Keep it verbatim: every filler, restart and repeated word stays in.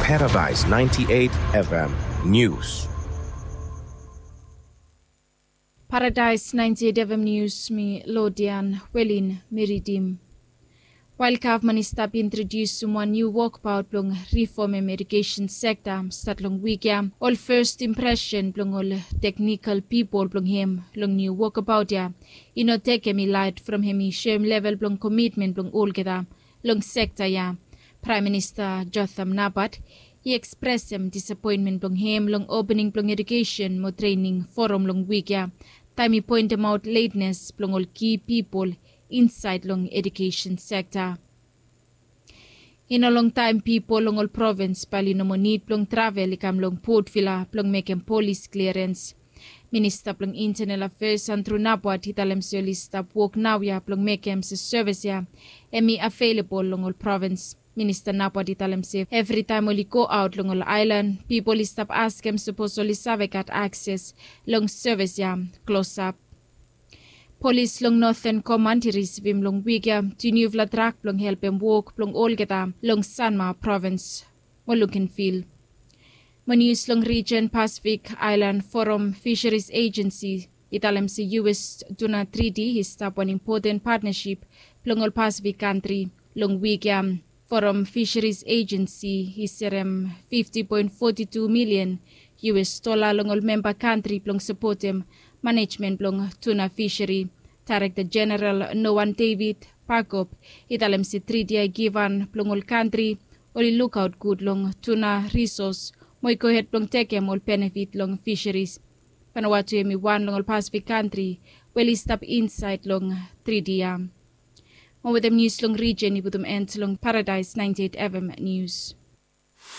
Paradise ninety-eight F M News. Paradise ninety-eight F M News, mi Lodian Welin mi ridim. Wael gavman i stap introdiusim wan niu wokbaot blong rifomem edukesen sekta stat long wik ya, ol fes impresen blong ol teknikal pipol blong hem long niu wokbaot ya i no tekem i laet from hem i soem level blong komitmen blong olgeta long sekta ya. Praem Minista Jotham Napat i ekspresem disapoenmen blong hem long opening blong edukesen mo trening foram long wik ya, taem i poentemaot letnes blong ol ki pipol insaed long edukesen sekta. I no longtaem pipol long ol provins bae oli no moa nid blong travel i kam long Port Vila blong mekem polis kliarens. Minista blong Intanel Afeas Andrew Napat i talem se oli stap wok naoia blong mekem se sevis ya hem i avelebol long ol provins. Minista Napat i talem se evritaem oli goaot long ol aelan, pipol i stap askem sapos oli save gat akses long sevis ya klosap. Polis long Noten Komand i risivim long wik ya tu niufala trak blong helpem wok blong olgeta long Sanma provins mo Lukenvil. Mo nius long rijen Pasifik, Aelan Foram Fisheries Agency i talem se U S Tuna Treaty i stap wan impoten patnasip blong ol Pasifik kantri. Long wik ya, Foram Fisheries Agency i serem fifti poen foti tu milian U S dola long ol memba kantri blong sapotem manejmen blong tuna fisheri. Daerekta Jeneral Noan David Pakop i talem se triti ya i givhan blong ol kantri oli lukaot gud long tuna risos mo i gohed blong tekem ol benefit long fisheries. Vanuatu hem i wan long ol Pasifik kantri we oli stap insaed long triti ya. Mo wetem nius long rijen i putum en long Paradise ninety-eight F M News.